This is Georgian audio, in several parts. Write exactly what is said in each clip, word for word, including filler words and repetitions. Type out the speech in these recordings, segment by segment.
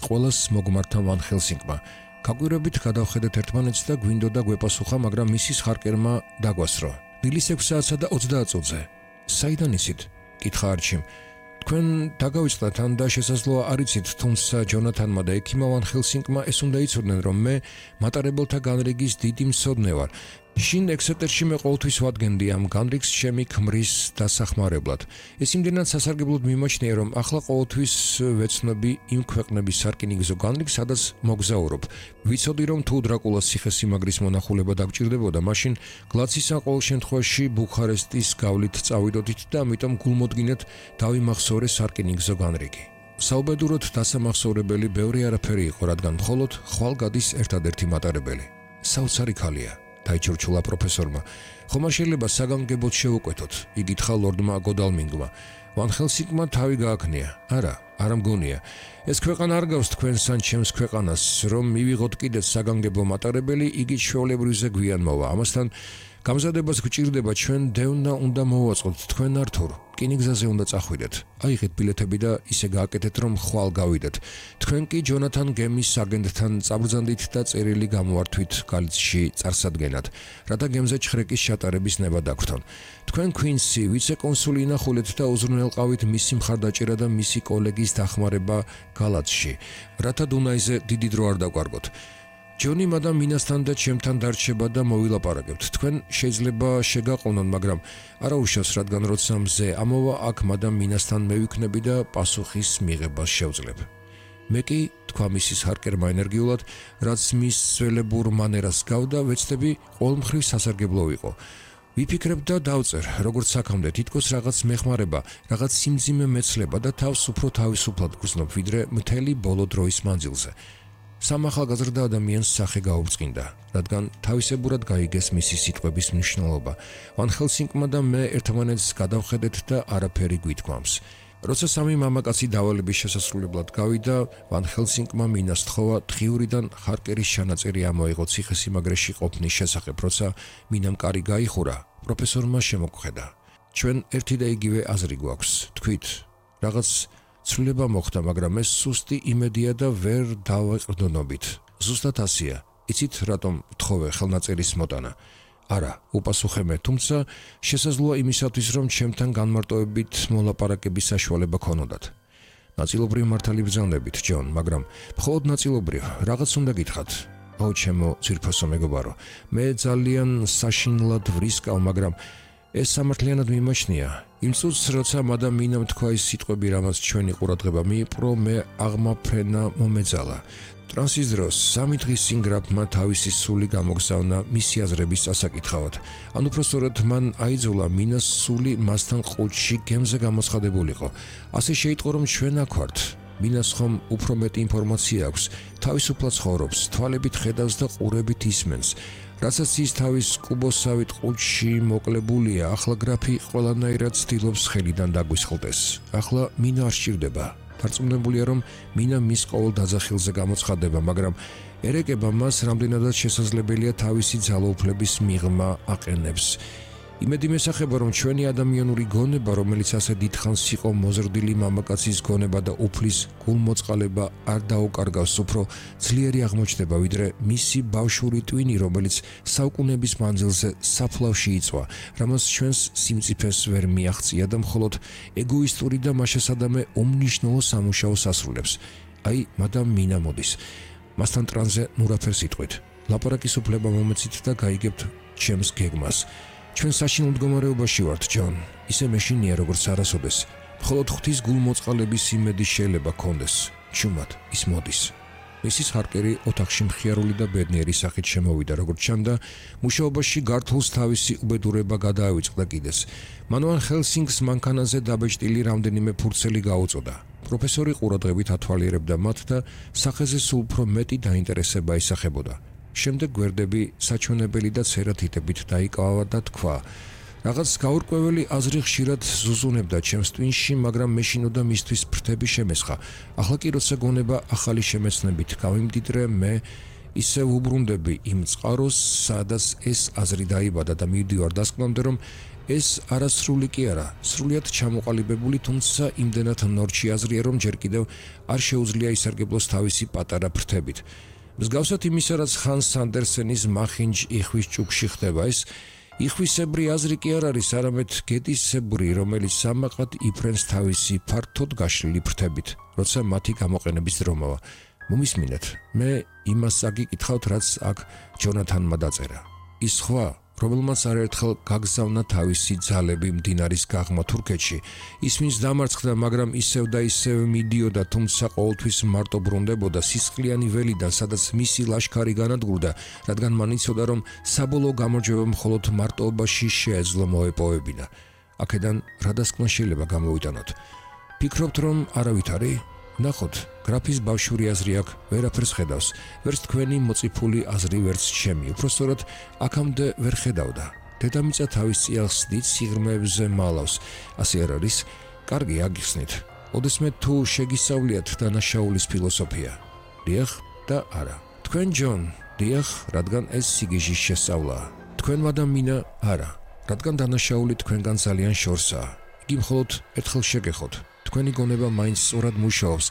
ყველას მოგმართა ვან ჰელსინგმა. გაგვირებით გადავხედეთ ერთმანეთს და გვინდოდა გვეპასუხა, მაგრამ მისის ჰარკერმა დაგვასრო. დილის ექვს საათსა და ოცდაათ წუთზე. საიდან ისით? კითხა არჩიმ. თქვენ დაგავიწყდათ ან და შესაძლოა არ იცით, თუმცა ჯონათანმა და ექიმა ვან ჰელსინგმა ეს უნდა იცოდნენ, რომ მე მატარებელთა განრიგის დიდი მცოდნე ვარ. შინ ექსეტერში მე ყოველთვის ვადგენდი ამ განრიგს ჩემი ქმრის დასახმარებლად. ეს იმდენად სასარგებლოდ მიმაჩნია, რომ ახლა ყოველთვის ვეცნობი იმ ქვეყნების სარკინიგზო განრიგს, სადაც მოგზაურობ. ვიცოდი, რომ თუ დრაკულას ციხესიმაგრის მონახულება დაგჭირდებოდა, მაშინ გლაცის ან ყოველ შემთხვევაში ბუქარესტის გავლით წავიდოდით და ამიტომ გულმოდგინეთ დავიმახსოვრე სარკინიგზო განრიგი. საუბედუროდ დასამახსოვრებელი ბევრი არაფერი იყო, რადგან მხოლოდ ხვალ გადის ერთადერთი მატარებელი. საოცარი ქალია. დაიჩორჩულა პროფესორმა. ხომ არ შეიძლება საგანგებოდ შევუკვეთოთ? იკითხა ლორდმა გოდალმინგმა. ვან ჰელსინგმა თავი გააქნია. არა, არ მგონია. ეს ქვეყანა არ გავს თქვენს ან ჩემს ქვეყანას, რომ მივიღოთ კიდეც საგანგებო მატარებელი, იგი ჩვეულებრივზე გვიან მოვა. ამასთან გამზადებას გვჭირდება, ჩვენ დევნა უნდა მოვაწყოთ, თქვენ ართურ. რკინიგზაზე უნდა წახვიდეთ. აიღეთ ბილეთები და ისე გააკეთეთ, რომ ხვალ გავიდეთ. თქვენ კი ჯონათან გემის აგენტთან წაბრძანდით და წერილი გამოართვით გალიცში წარსადგენად, რათა გემზე ჩხრეკის ჩატარების ნება დაგვრთონ. თქვენ ქვინსი ვიცე-კონსული ინახულეთ და უზრუნველყავით მისი მხარდაჭერა და მისი კოლეგის დახმარება გალაცში, რათა დუნაიზე დიდი დრო არ დაგვარგოთ. ჯონი მადამ მინასთან და ჩემთან დარჩება და მოვილაპარაკებთ. თქვენ შეიძლება შეგაყოვნონ, მაგრამ არა უშავს, რადგან როცა მზე ამოვა, აქ მადამ მინასთან მევიქნები და პასუხის მიღებას შევძლებ. მე კი, თქვა მისის ჰარკერმა ენერგიულად, რაც მის ძველებურ მანერას გავდა, ვეცდები ყოველმხრივ სასარგებლო ვიყო. ვიფიქრებ და დავწერ, როგორც აქამდე, თითქოს რაღაც მეხმარება, რაღაც სიმძიმე მეცლება და თავს უფრო თავისუფლად გრძნობ, ვიდრე მთელი ბოლო დროის მანძილზე. სამ ახალგაზრდა ადამიანს სახე გაუბრწყინდა, რადგან თავისებურად გაიგეს მისი სიტყვების მნიშვნელობა. ვან ჰელსინგმა და მე ერთმანეთს გადავხედეთ და არაფერი გვითქვამს. როცა სამი მამაკაცი დავალების შესასრულებლად გავიდა, ვან ჰელსინგმა მინას თხოვა დღიურიდან ჰარკერის ჩანაწერი ამოიღო ციხესიმაგრეში ყოფნის შესახებ, როცა მინამ კარი გაიხურა, პროფესორმა შემოგხედა. ჩვენ ერთი და იგივე აზრი გვაქვს, თქვით, რაღაც ცვლილება მოხდა, მაგრამ ეს სუსტი იმედია და ვერ დავაყრდნობით. ზუსტად ასია. იცით, რატომ ვთხოვე ხელნაწერის მოტანა? არა, უპასუხე მე, თუმცა შესაძლოა იმისათვის, რომ ჩემთან განმარტოებით მოლაპარაკების საშუალება ქონოდათ. ნაწილობრივ მართალი ბრძანდებით, ჯონ, მაგრამ მხოლოდ ნაწილობრივ, რაღაც უნდა გითხრათ. ო, ჩემო ძვირფასო მეგობარო, მე ძალიან საშინლად ვრისკავ, მაგრამ ეს სამართლიანად მიმაჩნია. იმ წუთს, როცა მადამ მინამ თქვა ის სიტყვები, რამაც ჩვენი ყურადღება მიიპყრო, მე აღმაფრენა მომეძალა. ტრანსის დროს სამი დღის წინ გრაფმა თავისი სული გამოგზავნა მისი აზრების წასაკითხავად. ან უпроსტოდ მან აიძულა მინას სული მასთან ყუთში გემზე გამოცხადებულიყო. ასე შეიტყო, რომ ჩვენ აქ ვართ. მინას ხომ უფრო მეტი ინფორმაცია აქვს, თავისუფლად ცხოვრობს, თვალებით ხედავს და ყურებით ისმენს. რასაც ის თავის კუბოსავით ყუთში მოკლებულია, ახლა გრაფი ყველანაირად ცდილობს ხელიდან დაგვისხლდეს. ახლა მინა არ სჭირდება. დარწმუნებულია, რომ მინა მის ყოველ დაძახილზე გამოცხადება, მაგრამ ერეკება მას რამდენადაც შესაძლებელია თავისი ძალაუფლების მიღმა აყენებს. იმედი მესახება, რომ ჩვენი ადამიანური გონება, რომელიც ასე დიდხანს იყო მოზრდილი მამაკაცის გონება და უფლის გულმოწყალება არ დაუკარგავს, უფრო ძლიერი აღმოჩნდება, ვიდრე მისი ბავშვური ტვინი, რომელიც საუკუნეების მანძილზე საფლავში იწვა, რამაც ჩვენს სიმწიფეს ვერ მიაღწია და მხოლოდ ეგოისტური და მაშასადამე უმნიშვნელო სამუშაოს ასრულებს. აი, მადამ მინა მოდის. მასთან ტრანზე ნურაფერს იტყვით. ლაპარაკის უფლება მომეცით და გაიგებთ ჩემს გეგმას. ჩვენ საშინელ მდგომარეობაში ვართ, ჯონ. ისე მეშინია, როგორც არასოდეს. მხოლოდ ღვთის გულმოწყალების იმედი შეიძლება გქონდეს. ჩუმად ის მოდის. მისის ჰარკერი ოთახში მხიარული და ბედნიერი სახით შემოვიდა, როგორც ჩანდა, მუშაობაში გართულს თავისი უბედურება გადაავიწყდა კიდეს. მან ვან ჰელსინგს მანქანაზე დაბეჭდილი რამდენიმე ფურცელი გაუწოდა. პროფესორი ყურადღებით ათვალიერებდა მათ და სახეზე სულ უფრო მეტი დაინტერესება ისახებოდა. შემდეგ გვერდები საჩვენებელი და ცერათიტებით დაიკავა და თქვა: რაღაც გაურკვეველი აზრი ხშირად ზუზუნებდა ჩემს ტვინში, მაგრამ მეშინოდა მისთვის ფრთები შემესხა. ახლა კი როცა გონება ახალი შემეცნებით გავიმდიდრე, მე ისევ უბრუნდები იმ წყაროს, სადაც ეს აზრი დაიბადა და მივდივარ დასკვნამდე, რომ ეს არასრული კი არა, სრულიად ჩამოყალიბებული, თუმცა იმდენად ნორჩი აზრია, რომ ჯერ კიდევ არ შეუძლია ისარგებლოს თავისი პატარა ფრთებით. მსგავსად იმისა, რაც ხან სანდერსენის მახინჯ იხვის ჭუქში ხდება, ეს იხვისებრი აზრი კი არ არის, არამედ გეტისებრი, რომელიც სამაყად იფრენს თავისი ფართოდ გაშლილი ფრთებით, როცა მათი გამოყენების დრო მოვა. მომისმინეთ, მე იმას აგიკითხავთ, რაც აქ ჯონათანმა დაწერა. ის ხვა, რომელმაც არაერთხელ გაგზავნა თავისი ძალები მდინარის გაღმა თურქეთში, ისმის დამარცხდა, მაგრამ ისევ და ისევ მიდიოდა, თუმცა ყოველთვის მარტო ბრუნდებოდა სისხლიანი ველიდან, სადაც მისი ლაშქარი განადგურდა, რადგან მან იცოდა, რომ საბოლოო გამარჯვება მხოლოდ მარტოობაში შეეძლო მოეპოვებინა. აქედან რა დასკვნა შეიძლება გამოვიტანოთ? ფიქრობთ, რომ არავით არის? ნახოთ, გრაფის ბავშვური აზრი აქ ვერაფერს ხედავს, ვერც თქვენი მოწიფული აზრი, ვერც ჩემი, უпростоრად აქამდე ვერ ხედავდა. დედამიწა თავის წიაღს დიდ სიღრმეებზე მალავს, ასე არ არის? კარგი, აგიხსნით. ოდესმე თუ შეგისწავლიათ დანაშაულის ფილოსოფია? დიახ და არა. თქვენ ჯონ, დიახ, რადგან ეს სიგიჟის შესწავლაა. თქვენ ადამიანა არა, რადგან დანაშაული თქვენგან ძალიან შორსაა. იგი მხოლოდ ერთხელ შეგეხოთ. თქვენი გონება მაინც სწორად მუშაობს.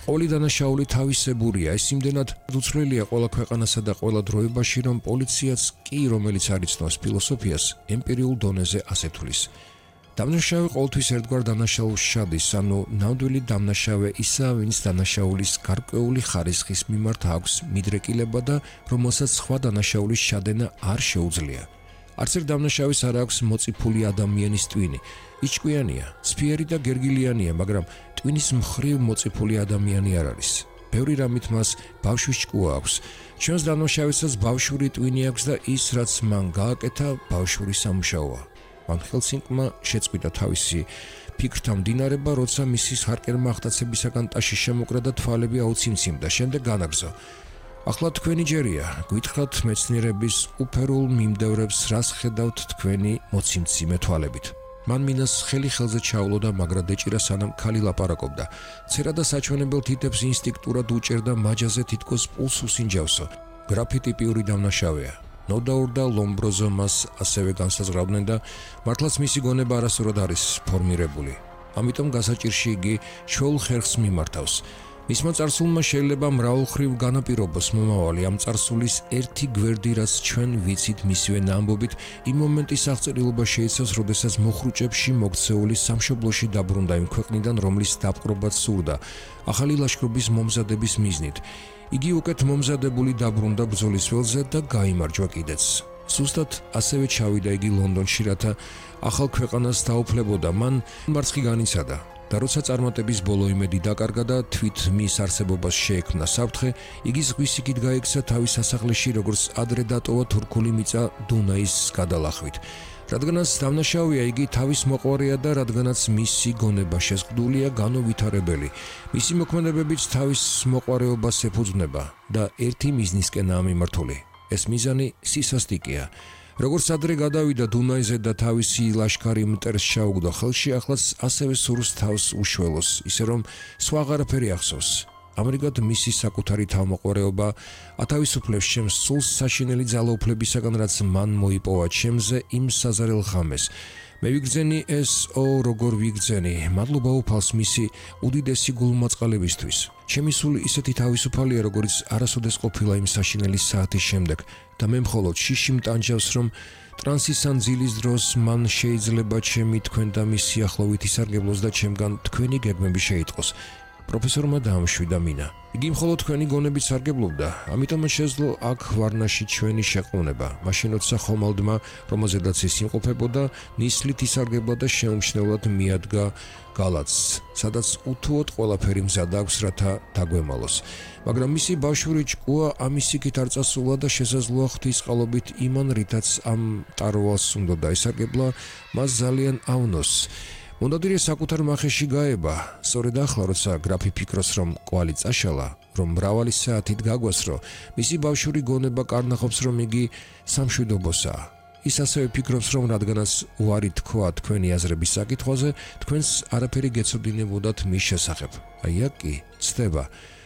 ყოველი დანაშაული თავისებურია, ეს იმდენად უცვლელია ყველა ქვეყანასა და ყველა დროებაში, რომ პოლიციაც კი, რომელიც არ იცნობს ფილოსოფიას, ემპირიულ დონეზე ასეთulis. დამნაშავე ყოველთვის ერთგვარ დანაშაულს შადის, ანუ ნამდვილი დამნაშავე ისაა, ვინც დანაშაულის გარკვეული ხარისხის მიმართ აქვს მიდრეკილება და რომელსაც სხვა დანაშაულის შადენა არ შეუძლია. არც ერთ დამნაშავის არ აქვს მოწიფული ადამიანის ტვინი. იჭკვიანია, სფიერი და გერგილიანია, მაგრამ ტვინის მხრივ მოწიფული ადამიანი არ არის. ბევრი რამით მას ბავშვის ჭკუა აქვს. ჩვენს დამნაშავესაც ბავშვური ტვინი აქვს და ის, რაც მან გააკეთა, ბავშვური სამუშაოა. მან ჰელსინკმა შეწყვიტა თავისი ფიქრთა მდინარება, როცა მისის ჰარკერმა აღტაცებისაგან ტაში შემოკრა და თვალები აუციმციმდა, შემდეგ განაგრძო. ახლა თქვენი ჯერია, გვითხრათ მეცნიერების უფერულ მიმდევრებს, რას ხედავთ თქვენი მოციმციმე თვალებით. მან მინას ხელი ხელზე ჩაულოდა, მაგრამ დეჭირა სანამ ქალი ლაპარაკობდა. ცერა და საჩვენებელ თითებს ინსტინქტურად უჭერდა მაჯაზე, თითქოს პულს უსინჯავსო. გრაფი ტიპიური დამნაშავეა. ნოდაურ და ლომბროზო მას ასევე განსაზღვრავდნენ და მართლაც მისი გონება არასწორად არის ფორმირებული. ამიტომ გასაჭირში იგი ჩვეულ ხერხს მიმართავს. მისმა წარსულმა შეიძლება მრავალმხრივ განაპირობოს მომავალი ამ წარსულის ერთი გვერდი, რაც ჩვენ ვიცით მისივე ამბობით, იმ მომენტის აღწერილობა შეიცავს, როდესაც მოხრუჭებში მოქცეული სამშობლოში დაბრუნდა იმ ქვეყნიდან, რომლის დაპყრობაც სურდა, ახალი ლაშქრობის მომზადების მიზნით. იგი უკეთ მომზადებული დაბრუნდა ბრძოლის ველზე და გაიმარჯვა კიდეც. სუსტად ასევე ჩავიდა იგი ლონდონში, რათა ახალ ქვეყანას დაუფლებოდა. მან მარცხი განიცადა. და როცა წარმატების ბოლო იმედი დაკარგა და თვით მის არსებობას შეექმნა საფრთხე, იგი ზღვის იქით გაიქცა თავის სასახლეში, როგორც ადრე დატოვა თურქული მიწა დუნაის გადალახვით. რადგანაც დამნაშავეა, იგი თავის მოყვარეა და რადგანაც მისი გონება შეზღუდულია, განუვითარებელი. მისი მოქმედებებიც თავის მოყვარეობას ეფუძნება და ერთი მიზნისკენაა მიმართული. ეს მიზანი სისასტიკეა. როგორც ადრე გადავიდა დუნაიზე და თავისი ლაშქარი მტერს ჩაუგდო ხელში, ახლაც ასევე სურს თავს უშველოს, ისე რომ სხვა აღარაფერი ახსოვს. ამრიგად მისი საკუთარი თავმოყვარეობა ათავისუფლებს ჩემს სულს საშინელი ძალაუფლებისაგან, რაც მან მოიპოვა ჩემზე იმ საზარელ ღამეს. მე ვიგრძენი ეს, ო როგორ ვიგრძენი, მადლობა უფალს მისი უდიდესი გულმოწყალებისთვის. ჩემი სული ისეთი თავისუფალია, როგორც არასოდეს ყოფილა იმ საშინელი საათის შემდეგ და მე მხოლოდ შიში მტანჯავს, რომ ტრანსის ან ძილის დროს მან შეიძლება ჩემი თქვენ და მის სიახლოვით ისარგებლოს და ჩემგან თქვენი გეგმები შეიტყოს. პროფესორმა დაამშვიდა მინა. იგი მხოლოდ თქვენი გონებით სარგებლობდა, ამიტომაც შეძლო აქ ვარნაში ჩვენი შეყოვნება. მაშინ როცა ხომალდმა, რომელზედაც ის იმყოფებოდა, ნისლით ისარგებლა და შეუმჩნევლად მიადგა გალაცს, სადაც უთუოდ ყველაფერი მზად აქვს, რათა დაგვემალოს. მაგრამ მისი ბავშვური ჭკუა ამის იქით არ წასულა და შესაძლოა ღვთისყალობით იმან, რითაც ამ ტარვალს უნდა დაისარგებლა, მას ძალიან ავნოს. მონადირე საკუთარ მახეში გაება, სწორედ ახლა, როცა გრაფი ფიქრობს, რომ კვალი წაშალა, რომ მრავალი საათით გაგვასრო, მისი ბავშვური გონება კარნახობს, რომ იგი სამშვიდობოსაა. ის ასევე ფიქრობს, რომ რადგანაც უარი თქვა თქვენი აზრების საკითხვაზე, თქვენს არაფერი გეცოდინებოდათ მის შესახებ. აი აქ კი ცდება.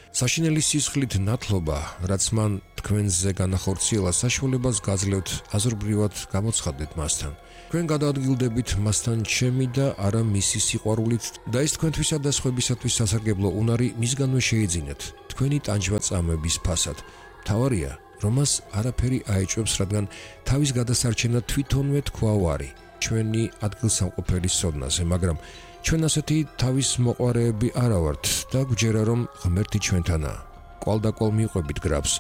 საშინელი სისხლით ნათლობა, რაც მან თქვენზე განახორციელა, საშუალებას გაძლევთ აზრობრივად გამოცხადდეთ მასთან. თქვენ გადაადგილდებით მასთან ჩემი და არა მისი სიყვარულით და ეს თქვენთვისა და სხვებისათვის სასარგებლო უნარი მისგანვე შეიძინეთ თქვენი ტანჯვა წამების ფასად. მთავარია, რომ მას არაფერი აეჭვებს, რადგან თავის გადასარჩენა თვითონვე თქვა ვარი ჩვენი ადგილსამყოფელი სოდნაზე, მაგრამ ჩვენ ასეთი თავის მოყვარეები არა ვართ და გვჯერა რომ ღმერთი ჩვენთანაა. კვალდაკვალ მიყვებით გრაფს,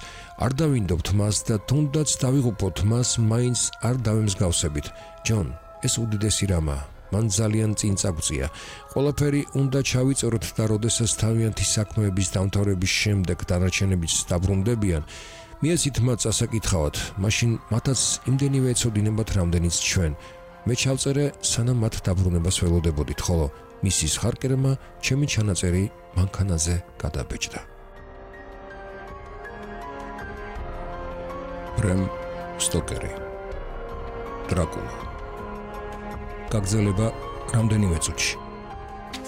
არ დავინდობთ მას და თუნდაც დავიღუპოთ მას, მაინც არ დავემსგავსებით. ჯონ, ეს უდიდესი რამაა. მან ძალიან წინ წაგწია. ყველაფერი უნდა ჩავიწეროთ და როდესაც თავიანთი საქმეების დამთავრების შემდეგ დანარჩენებიც დაბრუნდებიან, მიეცით მათ ასაკითხავად, მაშინ მათაც იმდენივე ეცოდინებათ, რამდენიც ჩვენ. მე ჩავწერე, სანამ მათ დაბრუნებას ველოდებოდით, ხოლო მისის ხარკერმა ჩემი ჩანაწერი მანქანაზე გადაბეჭდა. ბრემ სტოკერი. დრაკულა. გაგრძელება რამდენიმე წუთში.